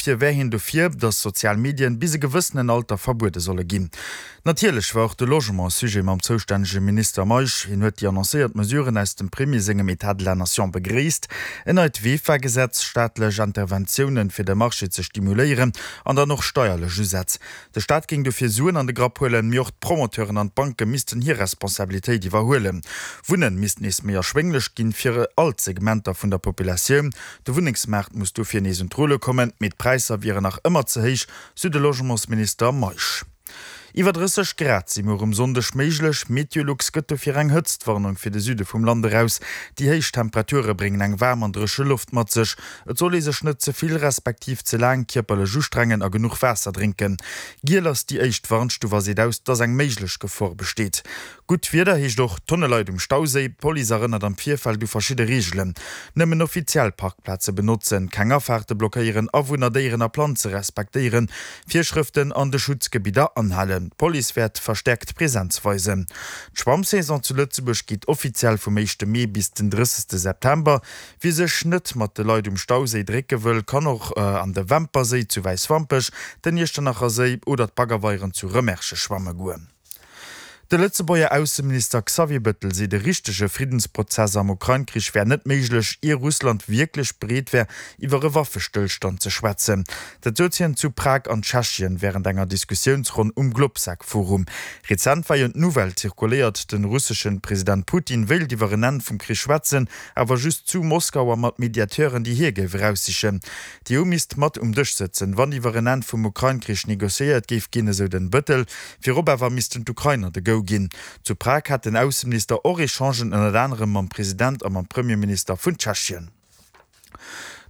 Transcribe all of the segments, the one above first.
Dofir wär hien dofir, datt sozial Medien bis e gewëssenen Alter verbuede solle ginn. Natierlech war och de Logement Sujet mam zoustännege Minister Meisch. Hien huet déi annoncéiert Mesuren aus dem Premier sengem Etat de la Nation begréisst, en neit VEFA-Gesetz, staatlech Interventiounen, fir de Marché ze stimuléieren an dann och steierlech Usätz. De Staat géing dofir Suen an de Grapp huelen, mee och d'Promoteuren an d'Banke missten hir Responsabilitéit iwwerhuelen. Wunnen misst nees méi erschwénglech ginn, fir all d'Segmenter vun der Populatioun. De Wunnengsmaart muss dofir nees un d'Rulle kommen, mee d'Präisser wieren nach ëmmer ze héich, sou de Logementsminister Meisch. Iwwer 30 Grad si muer um Sonndeg méiglech. Meteolux gëtt dofir eng Hëtztwarnung fir de Süde vum Land eraus. Déi héich Temperature bréngen eng waarm an dréche Loft mat sech. Et soll ee sech net ze vill respektiv ze laang kierperlech ustrengen a genuch Waasser drénken. Giel ass déi éischt Warnstuf a seet aus, dass eng méiglech Gefor besteet. Gutt Wieder heescht och Tonne Leit um Stauséi. D'Police erënnert am Virfeld u verschidde Reegelen, Nëmmen offiziell Parkplaze benotzen, keng Afaarte blockéieren, Awunner, Déieren a Planze respektéieren, Virschrëften an de Schutzgebidder anhalen. D'Police wäert verstäerkt Presenz weisen. D'Schwammsaison zu Lëtzebuerg geet offiziell vum éischte Mee bis den 30 September. Wie sech net mat de Leit um Stauséi drécke wëll, kann och an de Wämperséi zu Wäiswampech, den Iechternacher Séi oder d'Baggerweieren zu Rëmerschen schwamme goen. De Lëtzebuerger Ausseminister Xavier Bettel seet, e richtege Friddensprozess am Ukrain-Krich wär net méiglech, ier Russland wierklech bereet wär, iwwer e Waffestëllstand ze schwätzen. Dat sot hien zu Prag an Tschechien wärend enger Diskussiounsronn um Globsec-Forum. Rezent war jo d'Nouvelle zirkuléiert, de russeschen President Putin wéilt iwwer en Enn vum Krich schwätzen, awer just zu Moskau a mat Mediateuren, déi hie géif eraussichen. D'EU misst mat um Dësch sëtzen, wann iwwer en Enn vum Ukrain-Krich negociéiert géif ginn, esou den Bettel. Virop awer missten d'Ukrainer de Go ginn. Zu Prag hat den Ausseminister och Echangen ënnert anerem mam President a mam Premierminister vun Tschechien.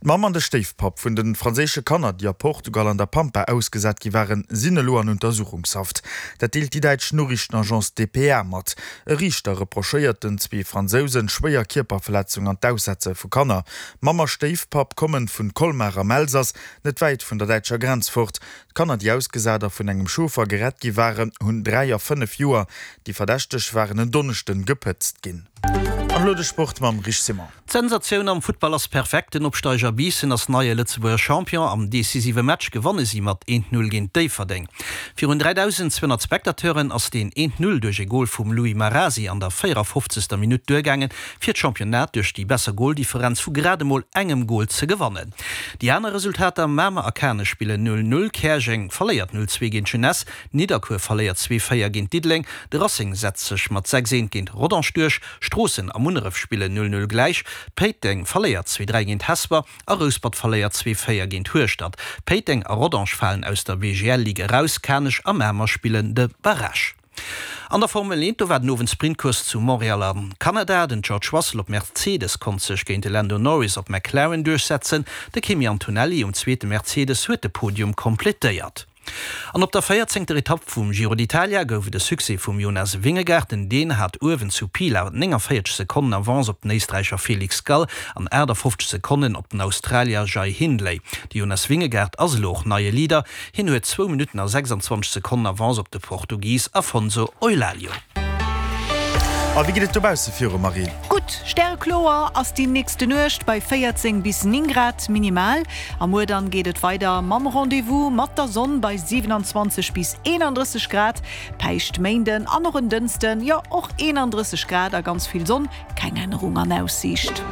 D'Mamm an de Stéifpapp vun de franséische Kanner, déi a Portugal an der Pampa ausgesat gi waren, sinn elo an Untersuchungshaft. Dat deelt déi däitsch Noriichtenagence dpa mat. E Riichter reprochéiert den zwee Fransousen schwéier Kierperverletzung an d'Aussetze vu Kanner. Mamm a Stéifpapp kommen vun Colmar am Elsass, net wäit vun der däitscher Grenz fort. D'Kanner, déi ausgesat a vun engem Chauffer gerett gi waren, hunn 3 a 5 Joer. Déi Verdächteg waren en Donneschden gepëtzt ginn. An elo de Sport mam Rich Simon. D'Sensatioun am Futtball ass perfekt, Den Opsteiger Biissen ass neie Lëtzebuerger Champion. Am decisive Match gewanne si mat 1, 0 géint Déifferdeng. Virun 3.200 Spectateuren ass deen 1, 0 duerch e Gol vum Louis Marasi an der 54. Minutt duergaangen, fir d'Championnat duerch déi besser Goldifferenz vu grad emol engem Gol ze gewannen. Déi aner Resultater, Mamer a Kanech spillen 0, 0, Käerjeng verléiert 0, 2 géint Jeunesse, Nidderkuer verléiert 2, 4 géint Diddeleng, de Racing setzt sech mat 6, 1 géint Rodange duerch, Stroossen a Munneref spillen 0, 0 gläich, Péiteng verléiert 2, 3 géint Hesper a Rouspert verléiert 2, 4 géint Hueschtert. Péiteng a Rodange falen aus der BGL-Ligue eraus, Kanech a Mamer spillen de Barrage. An der Formel 1, do war den Owend Sprintcourse zu Montréal am Kanada. Den George Russell op Mercedes konnt sech géint de Lando Norris op McLaren duerchsetzen. De Kimi Antonelli um zweete Mercedes huet de Podium kompletéiert. An op der véierzéngter Etapp vum Giro d'Italia gouf et e Succès vum Jonas Vingegaard. Den Dän hat uewen zu Pila 49 Sekonnen Avance op den Éisträicher Felix Gall an 58 Sekonnen op den Australier Jai Hindley. De Jonas Vingegaard ass elo och neie Leader. Hien huet zwou Minutten a 26 Sekonnen Avance op de Portugis Afonso Eulalio. A wéi geet et dobausse viru, Marie? Gutt, stärekloer ass déi nächste Nuecht bei 14 bis 9 Grad minimal. A muer dann geet et weider mam Rendez-vous mat der Sonn bei 27 bis 31 Grad. Päischtméinden an och en Dënsten, jo och 31 Grad a ganz vill Sonn. Keng Ännerung an Aussiicht.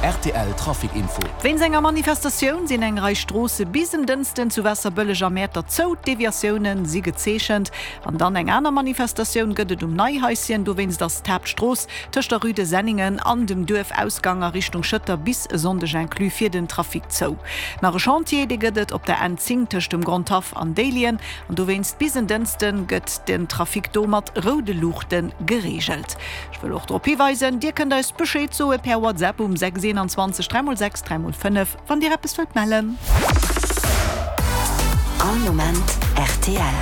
Rtl Trafic Info. Wéinst enger Manifestatioun sinn eng Rei Stroosse bis en Dënsten zu Waasserbëlleg a Mäertert zou. D'Deviatioune si gezeechent. An dann eng aner Manifestatioun gëtt et um Neihaischen. Dowéinst ass d'Haaptstrooss tëscht der Rue de Senningen an dem Duerfausgang a Richtung Schëtter bis e Sonndeg inclus fir den Trafic zou. Nach e Chantier, dee gëtt et op der N10 tëscht dem Grondhaff an Déiljen. An dowéinst bis en Dënsten gëtt den Trafic do mat roude Luuchte gereegelt. Ech wëll och drop hiweisen, Dir kënnt eis Bescheed soe per WhatsApp um 6 21 3 x 6 3 x 5, wann Dir eppes wëllt mellen. All Moment rtl.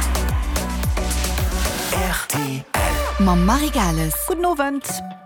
Rtl. Mam Marie Gales. Gudden Owend.